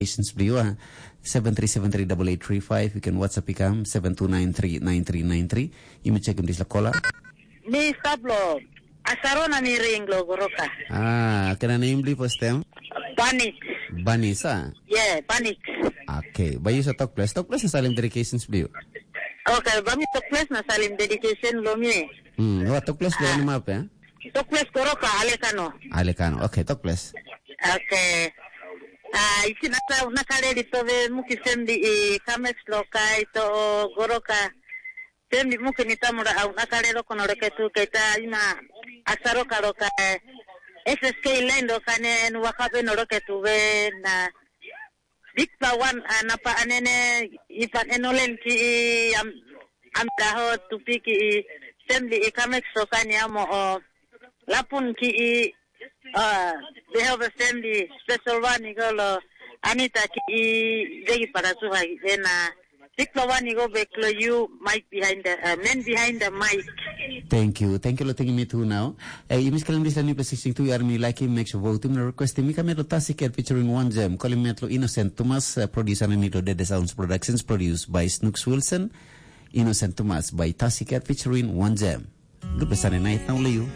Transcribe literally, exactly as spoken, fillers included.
Patience Blue, uh, seven three seven three double eight three five. You can WhatsApp ikam seven two nine three nine three nine three. You may check him this la caller. Mi stap lo. Asarona ni ring lo goroka. Ah, can I name Blue first time? Banis. Banisa. Yeah, Banis. Okay, but you sa talk plus. Talk plus is salim dedications Blue. Okay, bami talk plus na salim dedication lo mi. Hmm, what talk plus lo ni map eh? Talk plus goroka alekano. Alekano. Okay, talk plus. Okay. Ah, isi nasa nakale di tove muki sendi i kamex lo kai to goroka. Sendi muki ni tamura au nakale lo kono reke tu keta ima asaroka lo kai. S S K line lo kane en wakabe no roke tu ve na bikpela wan ah, napa anene ipan enolen ki i am am daho tupi ki i semli i kamek sokani amo o lapun ki i ah, they have a family special one i go lo Anita ki i degi para suha i ena bikpela wan i go bek lo you mic behind the uh, man behind the mic. Thank you. Thank you, Lotting Me Too now. Uh, you miss Kalim this new sixteen two year me like him makes vote him request him come to Tasiket featuring one gem. Kalim Metlo Innocent Thomas, uh, producer and Nito Dede Sounds Productions, produced by Snooks Wilson. Innocent Thomas by Tasiket featuring one gem. Good Sunday night now, Leo.